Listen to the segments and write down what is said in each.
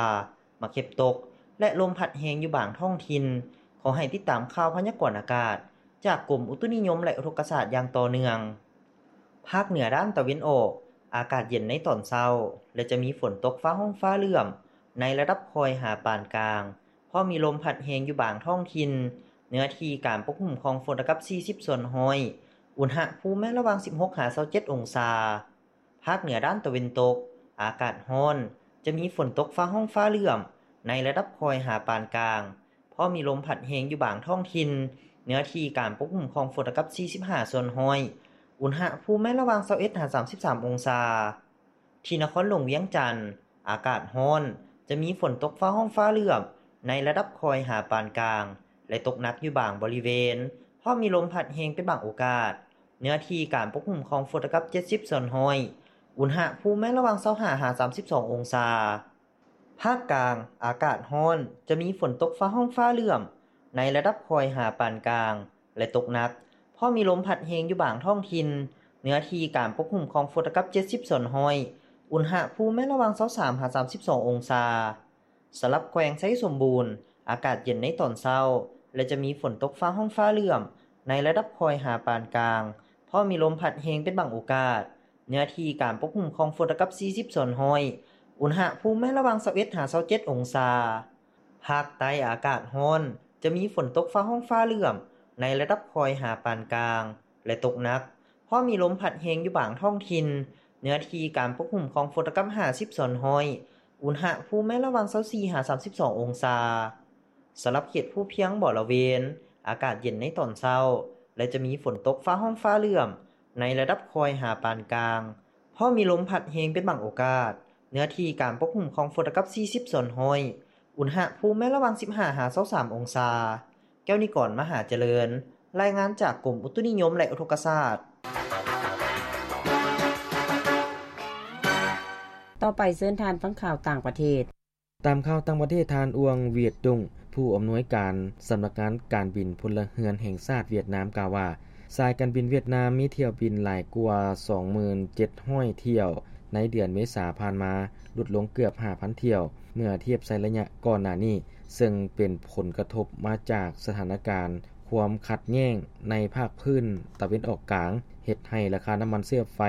າ, ໝາກເຫັບຕົກ ແລະ ລົມພັດແຮງຢູ່ບາງທ້ອງຖິ່ນ. ຂໍໃຫ້ຕິດຕາມຂ່າວພະຍາກອນອາກາດຈາກກົມອຸຕຸນິຍົມ ແລະ ອຸທົກກະສາດຢ່າງຕໍ່ເນື່ອງ. ພາກເໜືອດ້ານຕາເວັນອອກ, ອາກາດເຢັນໃນຕອນເຊົ້າ ແລະ ຈະມີຝົນຕົກຟ້າຮ້ອງຟ້າເຫຼື້ອມໃນລະດັບຄ່ອຍຫາປານກາງ, ພ້ອມມີລົມພັດແຮງຢູ່ບາງທ້ອງຖິ່ນ, ເນື້ອທີ່ການປົກຄຸມຂອງຝົນລະດັບສີ່ສິບສ່ວນຮ້ອຍ, ອຸນຫະພູມແມ່ນລະຫວ່າງສິບຫົກຫາຊາວເຈັດອົງສາ. ພາກເໜືອດ້ານຕາເວັນຕົກ, ອາກາດຮ້ອນ, ຈະມີຝົນຕົກຟ້າຮ້ອງຟ້າເຫຼື້ອມໃນລະດັບຄ່ອຍຫາປານກາງ, ພ້ອມມີລົມພັດແຮງຢູ່ບາງທ້ອງຖິ່ນ, ເນື້ອທີ່ການປົກຄຸມຂອງຝົນລະດັບສີ່ສິບຫ້າສ່ວນຮ້ອຍ, ອຸນຫະພູມແມ່ນລະຫວ່າງຊາວເອັດຫາສາມສິບສາມອົງສາ. ທີ່ນະຄອນຫຼວງວຽງຈັນ, ອາກາດຮ້ອນ, ຈະມີຝົນຕົກຟ້າຮ້ອງຟ້າເຫຼື້ອມໃນລະດັບຄ່ອຍຫາປານກາງ ແລະ ຕົກໜັກຢູ່ບາງບໍລິເວນ, ພ້ອມມີລົມພັດແຮງເປັນບາງໂອກາດ, ເນື້ອທີ່ການປົກຄຸມຂອງຝົນລະດັບເຈັດສິບສ່ວນຮ້ອຍ, ອຸນຫະພູມແມ່ນລະຫວ່າງຊາວຫ້າຫາສາມສິບສອງອົງສາ. ພາກກາງ, ອາກາດຮ້ອນ, ຈະມີຝົນຕົກຟ້າຮ້ອງຟ້າເຫຼື້ອມໃນລະດັບຄ່ອຍຫາປານກາງ ແລະ ຕົກໜັກ, ພ້ອມມີລົມພັດແຮງຢູ່ບາງທ້ອງຖິ່ນ, ເນື້ອທີ່ການປົກຄຸມຂອງຝົນລະດັບເຈັດສິບສ່ວນຮ້ອຍ, ອຸນຫະພູມແມ່ນລະຫວ່າງຊາວສາມຫາສາມສິບສອງອົງສາ. ສຳລັບແຂວງໄຊສົມບູນ, ອາກາດເຢັນໃນຕອນເຊົ້າ ແລະ ຈະມີຝົນຕົກຟ້າຮ້ອງຟ້າເຫຼື້ອມໃນລະດັບຄ່ອຍຫາປານກາງ, ພ້ອມມີລົມພັດແຮງເປັນບາງໂອກາດ, ເນື້ອທີ່ການປົກຄຸມຂອງຝົນລະດັບສີ່ສິບສ່ວນຮ້ອຍ, ອຸນຫະພູມແມ່ນລະຫວ່າງຊາວເອັດຫາຊາວເຈັດອົງສາ. ພາກໃຕ້ອາກາດຮ້ອນ, ຈະມີຝົນຕົກຟ້າຮ້ອງຟ້າເຫຼື້ອມໃນລະດັບຄ່ອຍຫາປານກາງ ແລະ ຕົກໜັກ, ພ້ອມມີລົມພັດແຮງຢູ່ບາງທ້ອງຖິ່ນ, ເນື້ອທີ່ການປົກຄຸມຂອງຝົນລະດັບຫ້າສິບສ່ວນຮ້ອຍ, ອຸນຫະພູມແມ່ນລະຫວ່າງຊາວສີ່ຫາສາມສິບສອງອົງສາ. ສຳລັບເຂດພູພຽງບໍລະເວນ, ອາກາດເຢັນໃນຕອນເຊົ້າ ແລະ ຈະມີຝົນຕົກຟ້າຮ້ອງຟ້າເຫຼື້ອມໃນລະດັບຄ່ອຍຫາປານກາງ, ພໍມີລົມພັດແຮງເປັນບາງໂອກາດ, ເນື້ອທີ່ການປົກຄຸມຂອງຝົນລະກັບສີ່ສິບສ່ວນຮ້ອຍ, ອຸນຫະພູມແມ່ນລະຫວ່າງສິບຫ້າຫາຊາວສາມອົງສາ. ແກ້ວນິກອນ ມະຫາຈະເລີນ, ລາຍງານຈາກກົມອຸຕຸນິຍົມ ແລະ ອຸທົກກະສາດ. ຕໍ່ໄປເຊີນທ່ານຟັງຂ່າວຕ່າງປະເທດ. ຕາມຂ່າວຕ່າງປະເທດ, ທ່ານ ອວງ ຫວຽດຕຸງ ຜູ້ອຳນວຍການສຳນັກງານການບິນພົນລະເຮືອນແຫ່ງຊາດຫວຽດນາມ ກ່າວວ່າ ສາຍການບິນຫວຽດນາມມີຖ້ຽວບິນຫຼາຍກວ່າສອງໝື່ນເຈັດຮ້ອຍຖ້ຽວໃນເດືອນເມສາຜ່ານມາ, ຫຼຸດລົງເກືອບຫ້າພັນຖ້ຽວເມື່ອທຽບໃສ່ໄລຍະກ່ອນໜ້ານີ້, ເຊິ່ງເປັນຜົນກະທົບມາຈາກສະຖານະການຄວາມຂັດແຍ່ງໃນພາກພື້ນຕາເວັນອອກກາງ, ເຮັດໃຫ້ລາຄານ້ຳມັນເຊື້ອໄຟ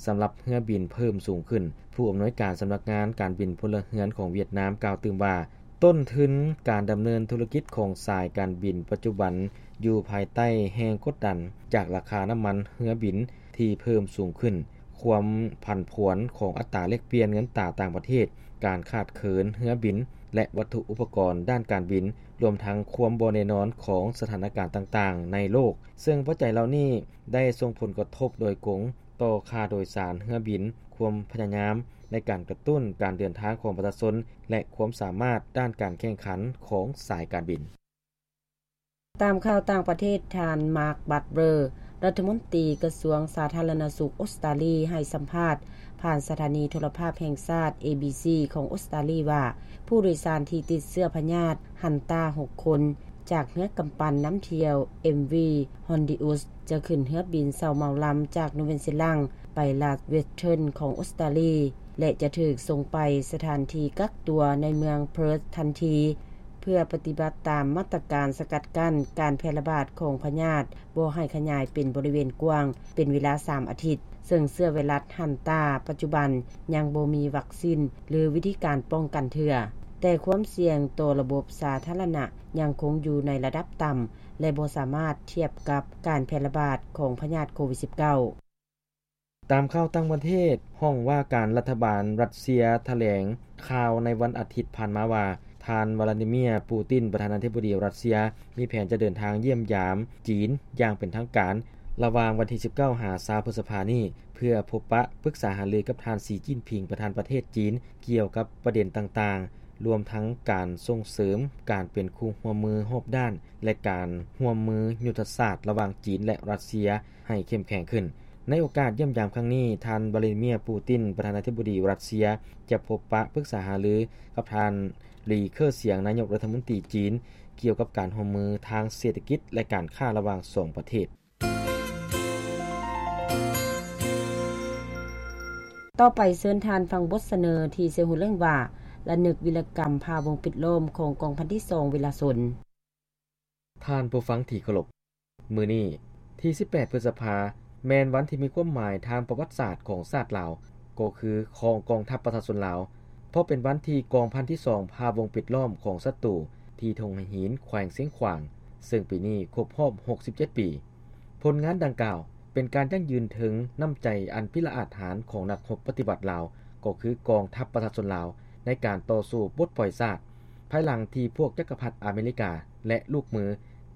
ສຳລັບເຮືອບິນເພີ່ມສູງຂຶ້ນ. ຜູ້ອຳນວຍການສຳນັກງານການບິນພົນລະເຮືອນຂອງຫວຽດນາມ ກ່າວຕື່ມວ່າ ຕົ້ນທຶນການດຳເນີນທຸລະກິດຂອງສາຍການບິນປັດຈຸບັນຢູ່ພາຍໃຕ້ແຮງກົດດັນຈາກລາຄານ້ຳມັນເຮືອບິນທີ່ເພີ່ມສູງຂຶ້ນ, ຄວາມຜັນຜວນຂອງອັດຕາແລກປ່ຽນເງິນຕາຕ່າງປະເທດ, ການຂາດເຂີນເຮືອບິນ ແລະ ວັດຖຸອຸປະກອນດ້ານການບິນ, ລວມທັງຄວາມບໍ່ແນ່ນອນຂອງສະຖານະການຕ່າງໆໃນໂລກ, ເຊິ່ງປັດໄຈເຫຼົ່ານີ້ໄດ້ສົ່ງຜົນກະທົບໂດຍກົງຕໍ່ຄ່າໂດຍສານເຮືອບິນ, ຄວາມພະຍາຍາມໃນການກະຕຸ້ນການເດີນທາງຂອງປະຊາຊົນ ແລະ ຄວາມສາມາດດ້ານການແຂ່ງຂັນຂອງສາຍການບິນ. ຕາມຂ່າວຕ່າງປະເທດ, ທ່ານ ມາກ ບັດເບີ ລັດຖະມົນຕີກະຊວງສາທາລະນະສຸກອົດສະຕາລີ ໃຫ້ສຳພາດຜ່ານສະຖານີໂທລະພາບແຫ່ງຊາດ ເອບີຊີ ຂອງອົດສະຕາລີວ່າ ຜູ້ໂດຍສານທີ່ຕິດເຊື້ອພະຍາດຮັນຕາຫົກຄົນ ຈາກເຮືອກຳປັ່ນນຳທ່ຽວ ເອັມວີ ຮອນດີອຸສ ຈະຂຶ້ນເຮືອບິນເຊົ່າເໝົາລຳຈາກນູເວັນຊີລັງໄປລັດເວັສເທີນຂອງອົດສະຕາລີ ແລະ ຈະຖືກສົ່ງໄປສະຖານທີ່ກັກຕົວໃນເມືອງເພີດທັນທີ ເພື່ອປະຕິບັດຕາມມາດຕະການສະກັດກັ້ນການແຜ່ລະບາດຂອງພະຍາດ ບໍ່ໃຫ້ຂະຫຍາຍເປັນບໍລິເວນກວ້າງເປັນເວລາສາມອາທິດ, ເຊິ່ງເຊື້ອໄວຣັສຮັນຕາປັດຈຸບັນຍັງບໍ່ມີວັກຊິນ ຫຼື ວິທີການປ້ອງກັນເທື່ອ, ແຕ່ຄວາມສ່ຽງຕໍ່ລະບົບສາທາລະນະຍັງຄົງຢູ່ໃນລະດັບຕ່ຳ ແລະ ບໍ່ສາມາດທຽບກັບການແຜ່ລະບາດຂອງພະຍາດໂຄວິດສິບເກົ້າ. ຕາມຂ່າວຕ່າງປະເທດ, ຫ້ອງວ່າການລັດຖະບານຣັດເຊຍຖະແຫຼງຂ່າວໃນວັນອາທິດຜ່ານມາວ່າ ທ່ານ ວລາດີເມຍ ປູຕິນ ປະທານາທິບໍດີຣັດເຊຍ ມີແຜນຈະເດີນທາງຢ້ຽມຢາມຈີນຢ່າງເປັນທາງການ ລະຫວ່າງວັນທີສິບເກົ້າຫາຊາວ ພຶດສະພານີ້ ເພື່ອພົບປະປຶກສາຫາລືກັບທ່ານ ສີ ຈິ້ນຜິງ ປະທານປະເທດຈີນ ກ່ຽວກັບປະເດັນຕ່າງໆ ລວມທັງການສົ່ງເສີມການເປັນຄູ່ຮ່ວມມືຮອບດ້ານ ແລະ ການຮ່ວມມືຍຸດທະສາດລະຫວ່າງຈີນ ແລະ ຣັດເຊຍ ໃຫ້ເຂັ້ມແຂງຂຶ້ນ. ໃນໂອກາດຢ້ຽມຢາມຄັ້ງນີ້, ທ່ານ ວລາດີເມຍ ປູຕິນ ປະທານາທິບໍດີຣັດເຊຍ ຈະພົບປະປຶກສາຫາລືກັບທ່ານ ລີ ເຄີສຽງ ນາຍົກລັດຖະມົນຕີຈີນ ກ່ຽວກັບການຮ່ວມມືທາງເສດຖະກິດ ແລະ ການຄ້າລະຫວ່າງສອງປະເທດ. ຕໍ່ໄປເຊີນທ່ານຟັງບົດສະເໜີທີ່ຊື່ເລື່ອງວ່າ ລະນຶກວິລະກຳພາວົງປິດລ້ອມຂອງກອງພັນທີສອງວິລະຊົນ. ທ່ານຜູ້ຟັງທີ່ເຄົາລົບ, ມື້ນີ້ທີສິບແປດ ພຶດສະພາ ແມ່ນວັນທີ່ມີຄວາມໝາຍທາງປະຫວັດສາດຂອງຊາດລາວ, ກໍຄືຂອງກອງທັບປະຊາຊົນລາວ, ເພາະເປັນວັນທີ່ກອງພັນທີສອງພາວົງປິດລ້ອມຂອງສັດຕູທີ່ທົ່ງໄຫຫີນ ແຂວງຊຽງຂວາງ, ເຊິ່ງປີນີ້ຄົບຮອບຫົກສິບເຈັດປີ. ຜົນງານດັ່ງກ່າວເປັນການຢັ້ງຢືນເຖິງນ້ຳໃຈອັນພິລະອາດຫານຂອງນັກຮົບປະຕິວັດລາວ, ກໍຄືກອງທັບປະຊາຊົນລາວ ໃນການຕໍ່ສູ້ປົດປ່ອຍຊາດ, ພາຍຫຼັງທີ່ພວກຈັກກະພັດອາເມລິກາ ແລະ ລູກມື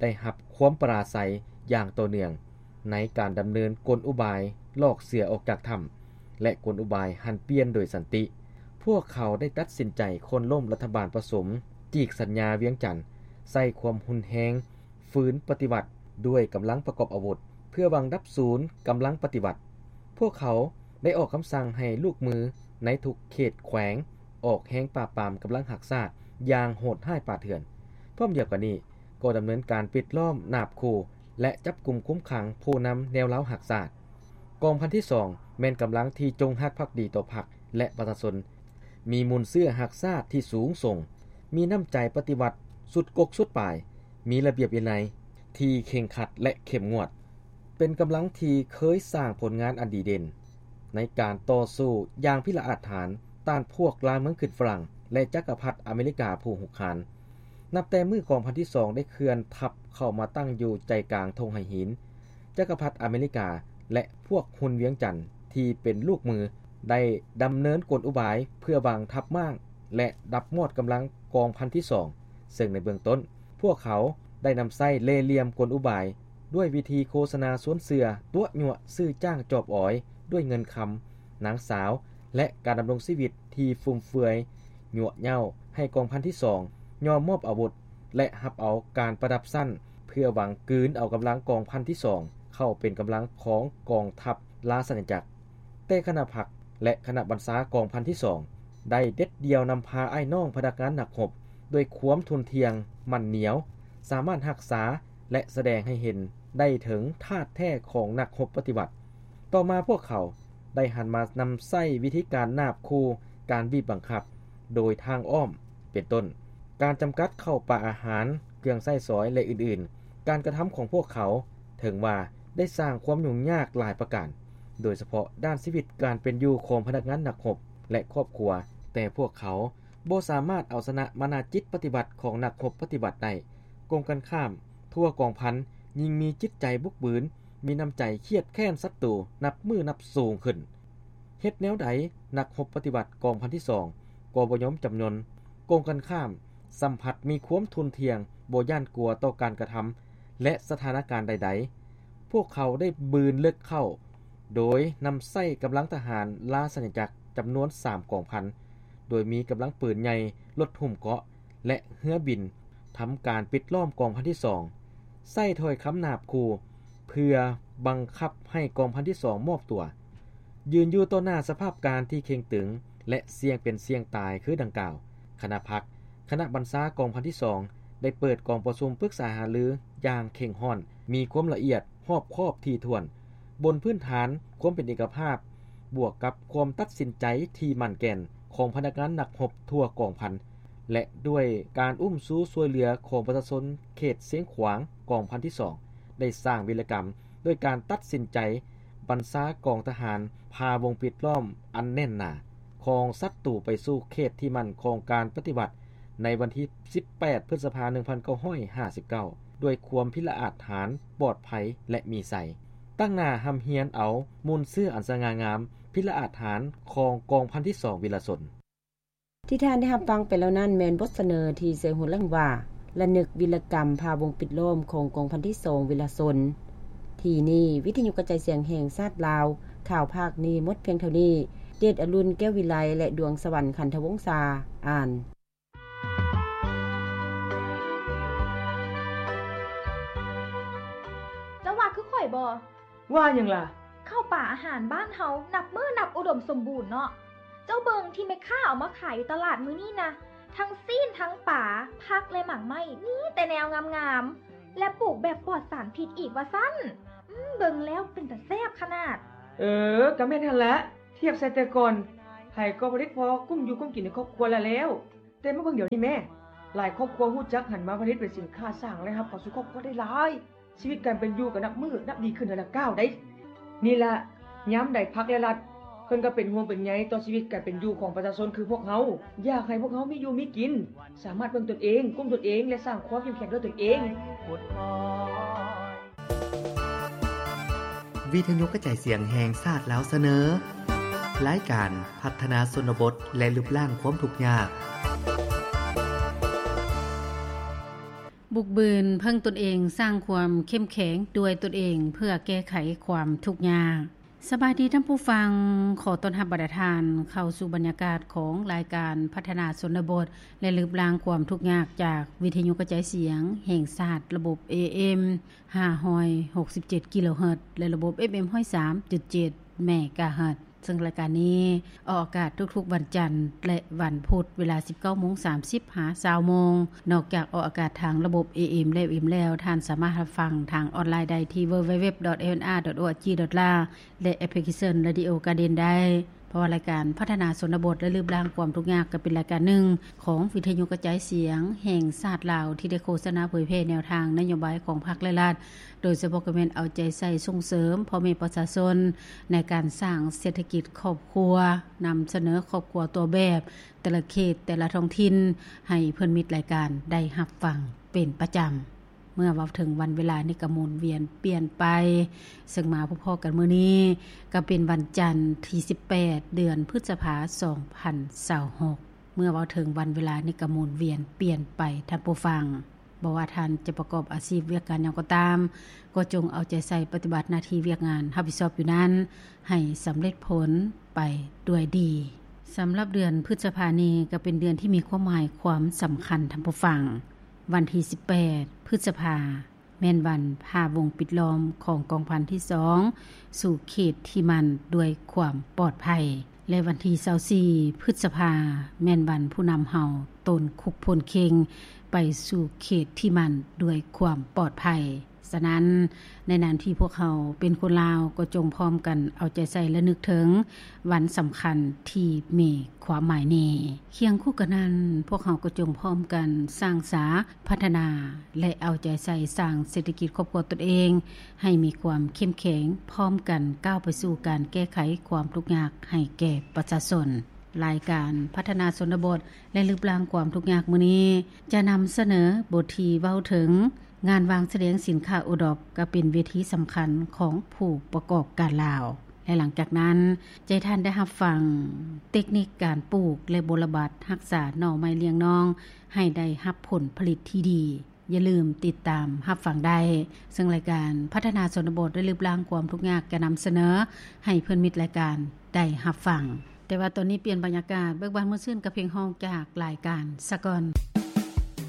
ໄດ້ຮັບຄວາມປະລາໄຊຢ່າງຕໍ່ເນື່ອງ ໃນການດຳເນີນກົນອຸບາຍຫຼອກເສືອອອກຈາກຖ້ຳ ແລະ ກົນອຸບາຍຫັນປ່ຽນໂດຍສັນຕິ. ພວກເຂົາໄດ້ຕັດສິນໃຈໂຄ່ນລົ້ມລັດຖະບານປະສົມ ຈີກສັນຍາວຽງຈັນ, ໃຊ້ຄວາມຮຸນແຮງ ຝືນປະຕິວັດດ້ວຍກຳລັງປະກອບອາວຸດ ເພື່ອຫວັງດັບສູນກຳລັງປະຕິວັດ. ພວກເຂົາໄດ້ອອກຄຳສັ່ງໃຫ້ລູກມືໃນທຸກເຂດແຂວງອອກແຮງປາບປາມກຳລັງຮັກຊາດຢ່າງໂຫດຮ້າຍປ່າເຖື່ອນ. ພ້ອມດຽວກັນນີ້ກໍດຳເນີນການປິດລ້ອມ, ນາບຂູ່ ແລະ ຈັບກຸມຄຸມຂັງຜູ້ນຳແນວລາວຮັກຊາດ. ກອງພັນທີສອງ ແມ່ນກຳລັງທີ່ຈົງຮັກພັກດີຕໍ່ພັກ ແລະ ປະຊາຊົນ, ມີມູນເຊື້ອຮັກຊາດທີ່ສູງສົ່ງ, ມີນ້ຳໃຈປະຕິວັດສຸດກົກສຸດປາຍ, ມີລະບຽບວິໄນທີ່ເຄັ່ງຄັດ ແລະ ເຂັ້ມງວດ, ເປັນກຳລັງທີ່ເຄີຍສ້າງຜົນງານອັນດີເດັ່ນໃນການຕໍ່ສູ້ຢ່າງພິລະອາດຫານຕ້ານພວກລ່າເມືອງຂຶ້ນຝຣັ່ງ ແລະ ຈັກກະພັດອາເມລິກາຜູ້ຮຸກຮານ. ນັບແຕ່ມື້ກອງພັນທີສອງໄດ້ເຄື່ອນທັບເຂົ້າມາຕັ້ງຢູ່ໃຈກາງທົ່ງໄຫຫີນ, ຈັກກະພັດອາເມລິກາ ແລະ ພວກຮຸນວຽງຈັນທີ່ເປັນລູກມື ໄດ້ດຳເນີນກົນອຸບາຍເພື່ອວາງທັບມ້າງ ແລະ ດັບມອດກຳລັງກອງພັນທີສອງ, ເຊິ່ງໃນເບື້ອງຕົ້ນ ພວກເຂົາໄດ້ນຳໃຊ້ເລ່ຫຼ່ຽມກົນອຸບາຍດ້ວຍວິທີໂຄສະນາຊວນເຊື່ອ, ຕົວະຍົວະຊື້ຈ້າງຈອບອອຍດ້ວຍເງິນຄຳ, ນາງສາວ ແລະ ການດຳລົງຊີວິດທີ່ຟຸມເຟືອຍ, ຍົວະເຍົ້າໃຫ້ກອງພັນທີສອງຍອມມອບອາວຸດ ແລະ ຮັບເອົາການປະດັບຊັ້ນ ເພື່ອຫວັງກືນເອົາກຳລັງກອງພັນທີສອງເຂົ້າເປັນກຳລັງຂອງກອງທັບລາຊະອານາຈັກ. ແຕ່ຄະນະພັກ ແລະ ຄະນະບັນຊາກອງພັນທີສອງໄດ້ເດັດດ່ຽວນຳພາອ້າຍນ້ອງພະນັກງານນັກຮົບດ້ວຍຄວາມທຸ່ນທ່ຽງໝັ້ນໜຽວ, ສາມາດຮັກສາ ແລະ ສະແດງໃຫ້ເຫັນໄດ້ເຖິງທາດແທ້ຂອງນັກຮົບປະຕິວັດ. ຕໍ່ມາພວກເຂົາໄດ້ຫັນມານຳໃຊ້ວິທີການນາບຂູ່, ການບີບບັງຄັບໂດຍທາງອ້ອມ ເປັນຕົ້ນ ການຈຳກັດເຂົ້າປາອາຫານ, ເຄື່ອງໃຊ້ສອຍ ແລະ ອື່ນໆ. ການກະທຳຂອງພວກເຂົາເຖິງວ່າໄດ້ສ້າງຄວາມຫຍຸ້ງຍາກຫຼາຍປະການ, ໂດຍສະເພາະດ້ານຊີວິດການເປັນຢູ່ຂອງພະນັກງານນັກຮົບ ແລະ ຄອບຄົວ, ແຕ່ພວກເຂົາບໍ່ສາມາດເອົາຊະນະມານາຈິດປະຕິວັດຂອງນັກຮົບປະຕິວັດໄດ້. ກົງກັນຂ້າມ, ທົ່ວກອງພັນຍິ່ງມີຈິດໃຈບຸກບືນ, ມີນ້ຳໃຈຄຽດແຄ້ນສັດຕູນັບມື້ນັບສູງຂຶ້ນ. ເຮັດແນວໃດນັກຮົບປະຕິວັດກອງພັນທີສອງກໍບໍ່ຍອມຈຳນົນ, ກົງກັນຂ້າມ ສ່ຳພັດມີຄວາມທຸ່ນທ່ຽງ, ບໍ່ຢ້ານກົວຕໍ່ການກະທຳ ແລະ ສະຖານະການໃດໆ. ພວກເຂົາໄດ້ບືນເລິກເຂົ້າ ໂດຍນຳໃຊ້ກຳລັງທະຫານລາຊະອານາຈັກຈຳນວນສາມກອງພັນ, ໂດຍມີກຳລັງປືນໃຫຍ່, ລົດຫຸ້ມເກາະ ແລະ ເຮືອບິນ ທຳການປິດລ້ອມກອງພັນທີສອງ, ໃຊ້ຖ້ອຍຄຳນາບຂູ່ເພື່ອບັງຄັບໃຫ້ກອງພັນທີສອງມອບຕົວ. ຢືນຢູ່ຕໍ່ໜ້າສະພາບການທີ່ເຄັ່ງຕຶງ ແລະ ສ່ຽງເປັນສ່ຽງຕາຍຄືດັ່ງກ່າວ, ຄະນະພັກ, ຄະນະບັນຊາກອງພັນທີສອງ ໄດ້ເປີດກອງປະຊຸມປຶກສາຫາລືຢ່າງເຄັ່ງຮ້ອນ, ມີຄວາມລະອຽດຮອບຄອບຖີ່ຖ້ວນ, ບົນພື້ນຖານຄວາມເປັນເອກະພາບ ບວກກັບຄວາມຕັດສິນໃຈທີ່ໝັ້ນແກ່ນຂອງພະນັກງານນັກຮົບທົ່ວກອງພັນ ແລະ ດ້ວຍການອຸ້ມຊູຊ່ວຍເຫຼືອຂອງປະຊາຊົນເຂດຊຽງຂວາງ, ກອງພັນທີສອງ ໄດ້ສ້າງວິລະກຳດ້ວຍການຕັດສິນໃຈບັນຊາກອງທະຫານພາວົງປິດລ້ອມອັນແໜ້ນໜາຂອງສັດຕູໄປສູ່ເຂດທີ່ໝັ້ນຂອງການປະຕິວັດ ໃນວັນທີສິບແປດ ພຶດສະພາ ໜຶ່ງພັນເກົ້າຮ້ອຍຫ້າສິບເກົ້າ ດ້ວຍຄວາມພິລະອາດຫານ, ປອດໄພ ແລະ ມີໄຊ, ຕັ້ງໜ້າຮ່ຳຮຽນເອົາມູນເຊື້ອອັນສະຫງ່າງາມ, ພິລະອາດຫານຂອງກອງພັນທີສອງວິລະຊົນ. ທີ່ທ່ານໄດ້ຮັບຟັງໄປແລ້ວນັ້ນ ແມ່ນບົດສະເໜີທີ່ໃສ່ຫົວເລື່ອງວ່າ ລະນຶກວິລະກຳພາວົງປິດລ້ອມຂອງກອງພັນທີສອງວິລະຊົນ. ທີ່ນີ້ ວິທະຍຸກະຈາຍສຽງແຫ່ງຊາດລາວ, ຂ່າວພາກນີ້ໝົດພຽງເທົ່ານີ້. ເກດອະລຸນ ແກ້ວວິໄລ ແລະ ດວງສະຫວັນ ຂັນທະວົງສາ ອ່ານ. ເຈົ້າວ່າຄືຂ້ອຍບໍ່? ວ່າຫຍັງລະ? ເຂົ້າປາອາຫານບ້ານເຮົານັບມື້ນັບອຸດົມສົມບູນເນາະ. ເຈົ້າເບິ່ງທີ່ແມ່ຄ້າເອົາມາຂາຍຢູ່ຕະຫຼາດມື້ນີ້ນະ, ທັງຊີ້ນ ທັງປາ, ຜັກ ແລະ ໝາກໄມ້, ມີແຕ່ແນວງາມໆ ແລະ ປູກແບບປອດສານພິດອີກວ່າຊັ້ນ. ອືມ ເບິ່ງແລ້ວເປັນຕາແຊບຂະໜາດ. ເອີ ກະແມ່ນຫັ້ນລະ, ທຽບໃສ່ແຕ່ກ່ອນ ໃຜກໍຜະລິດພໍກຸ້ມຢູ່ກຸ້ມກິນໃນຄອບຄົວລະແລ້ວ. ແຕ່ມາເບິ່ງດຽວນີ້ແມ້, ຫຼາຍຄອບຄົວຮູ້ຈັກຫັນມາຜະລິດເປັນສິນຄ້າ, ສ້າງລາຍຮັບເຂົ້າສູ່ຄອບຄົວໄດ້ຫຼາຍ. ຊີວິດການເປັນຢູ່ກໍນັບມື້ນັບດີຂຶ້ນເທື່ອລະກ້າວໃດ໋. ນີ້ລະ ຍາມໃດພັກ ແລະ ລັດ ເພິ່ນກໍເປັນຫ່ວງເປັນໃຍຕໍ່ຊີວິດການເປັນຢູ່ຂອງປະຊາຊົນຄືພວກເຮົາ, ຢາກໃຫ້ພວກເຮົາມີຢູ່ມີກິນ, ສາມາດເບິ່ງຕົນເອງ, ກຸ້ມຕົນເອງ ແລະ ສ້າງຄວາມເຂັ້ມແຂງດ້ວຍຕົນເອງ. ວິທະຍຸກະຈາຍສຽງແຫ່ງຊາດລາວສະເໜີ ລາຍການພັດທະນາຊົນນະບົດ ແລະ ລຶບລ້າງຄວາມທຸກຍາກ. ບຸກບືນເພິ່ງຕົນເອງ, ສ້າງຄວາມເຂັ້ມແຂງດ້ວຍຕົນເອງ ເພື່ອແກ້ໄຂຄວາມທຸກຍາກ. ສະບາຍດີທ່ານຜູ້ຟັງ, ຂໍຕ້ອນຮັບບັນດາທ່ານເຂົ້າສູ່ບັນຍາກາດຂອງລາຍການພັດທະນາຊົນນະບົດ ແລະ ລຶບລ້າງຄວາມທຸກຍາກ ຈາກວິທະຍຸກະຈາຍສຽງແຫ່ງຊາດ ລະບົບ ເອເອັມ ຫ້າຮ້ອຍຫົກສິບເຈັດ ກິໂລເຮີດ ແລະ ລະບົບ ເອັບເອັມ ຮ້ອຍສາມຈຸດເຈັດ ເມກາເຮີດ. ເຊິ່ງລາຍການນີ້ອອກອາກາດທຸກໆວັນຈັນ ແລະ ວັນພຸດ ເວລາ ສິບເກົ້າໂມງສາມສິບ ຫາ ຊາວໂມງ. ນອກຈາກອອກອາກາດທາງລະບົບ ເອເອັມ ແລະ ເອັຟເອັມ ແລ້ວ, ທ່ານສາມາດຮັບຟັງທາງອອນລາຍໄດ້ທີ່ www.lnr.org.la ແລະ ແອັບພລິເຄຊັນ Radio Garden ໄດ້. ເພາະວ່າລາຍການພັດທະນາຊົນນະບົດ ແລະ ລຶບລ້າງຄວາມທຸກຍາກ ກໍເປັນລາຍການໜຶ່ງຂອງວິທະຍຸກະຈາຍສຽງແຫ່ງຊາດລາວ ທີ່ໄດ້ໂຄສະນາເຜີຍແຜ່ແນວທາງນະໂຍບາຍຂອງພັກ ແລະ ລັດ, ໂດຍສະເພາະກໍແມ່ນເອົາໃຈໃສ່ສົ່ງເສີມພໍ່ແມ່ປະຊາຊົນໃນການສ້າງເສດຖະກິດຄອບຄົວ, ນຳສະເໜີຄອບຄົວຕົວແບບແຕ່ລະເຂດ, ແຕ່ລະທ້ອງຖິ່ນ ໃຫ້ເພື່ອນມິດລາຍການໄດ້ຮັບຟັງເປັນປະຈຳ. ເມື່ອເວົ້າເຖິງວັນເວລານີ້ກໍໝູນວຽນປ່ຽນໄປ, ເຊິ່ງມາພົບພໍ້ກັນມື້ນີ້ກໍເປັນວັນຈັນທີສິບແປດ ເດືອນພຶດສະພາ ສອງພັນຊາວຫົກ. ເມື່ອເວົ້າເຖິງວັນເວລານີ້ກໍໝູນວຽນປ່ຽນໄປ, ທ່ານຜູ້ຟັງ. ບໍ່ວ່າທ່ານຈະປະກອບອາຊີບວຽກງານຫຍັງກໍຕາມ, ກໍຈົ່ງເອົາໃຈໃສ່ປະຕິບັດໜ້າທີ່ວຽກງານຮັບຜິດຊອບຢູ່ນັ້ນ ໃຫ້ສຳເລັດຜົນໄປດ້ວຍດີ. ສຳລັບເດືອນພຶດສະພານີ້ກໍເປັນເດືອນທີ່ມີຄວາມໝາຍຄວາມສຳຄັນ, ທ່ານຜູ້ຟັງ. ວັນທີສິບແປດ ພຶດສະພາ ແມ່ນວັນຜ່າວົງປິດລ້ອມຂອງກອງພັນທີສອງ ສູ່ເຂດທີ່ໝັ້ນດ້ວຍຄວາມປອດໄພ ແລະ ວັນທີຊາວສີ່ ພຶດສະພາ ແມ່ນວັນຜູ້ນຳເຮົາໂຕນຄຸກພົ້ນເຄັ່ງໄປສູ່ເຂດທີ່ໝັ້ນດ້ວຍຄວາມປອດໄພ. ສະນັ້ນ, ໃນນາມທີ່ພວກເຮົາເປັນຄົນລາວ, ກໍຈົ່ງພ້ອມກັນເອົາໃຈໃສ່ລະນຶກເຖິງວັນສຳຄັນທີ່ມີຄວາມໝາຍນີ້. ຄຽງຄູ່ກັນນັ້ນ, ພວກເຮົາກໍຈົ່ງພ້ອມກັນສ້າງສາ, ພັດທະນາ ແລະ ເອົາໃຈໃສ່ສ້າງເສດຖະກິດຄອບຄົວຕົນເອງ ໃຫ້ມີຄວາມເຂັ້ມແຂງ, ພ້ອມກັນກ້າວໄປສູ່ການແກ້ໄຂຄວາມທຸກຍາກໃຫ້ແກ່ປະຊາຊົນ. ລາຍການພັດທະນາຊົນນະບົດ ແລະ ລຶບລ້າງຄວາມທຸກຍາກມື້ນີ້ ຈະນຳສະເໜີບົດທີ່ເວົ້າເຖິງ ງານວາງສະແດງສິນຄ້າໂອດອບ ກໍເປັນເວທີສຳຄັນຂອງຜູ້ປະກອບການລາວ ແລະ ຫຼັງຈາກນັ້ນ ຈະໃຫ້ທ່ານໄດ້ຮັບຟັງເຕັກນິກການປູກ ແລະ ບົວລະບັດຮັກສາໜໍ່ໄມ້ລ້ຽງນ້ອງ ໃຫ້ໄດ້ຮັບຜົນຜະລິດທີ່ດີ. ຢ່າລືມຕິດຕາມຮັບຟັງໄດ້, ເຊິ່ງລາຍການພັດທະນາຊົນນະບົດ ແລະ ລຶບລ້າງຄວາມທຸກຍາກ ຈະນຳສະເໜີໃຫ້ເພື່ອນມິດລາຍການໄດ້ຮັບຟັງ. ແຕ່ວ່າຕອນນີ້ປ່ຽນບັນຍາກາດ, ເບີກບານມ່ວນຊື່ນກັບເພງຮ້ອງຈາກລາຍການສາກ່ອນ.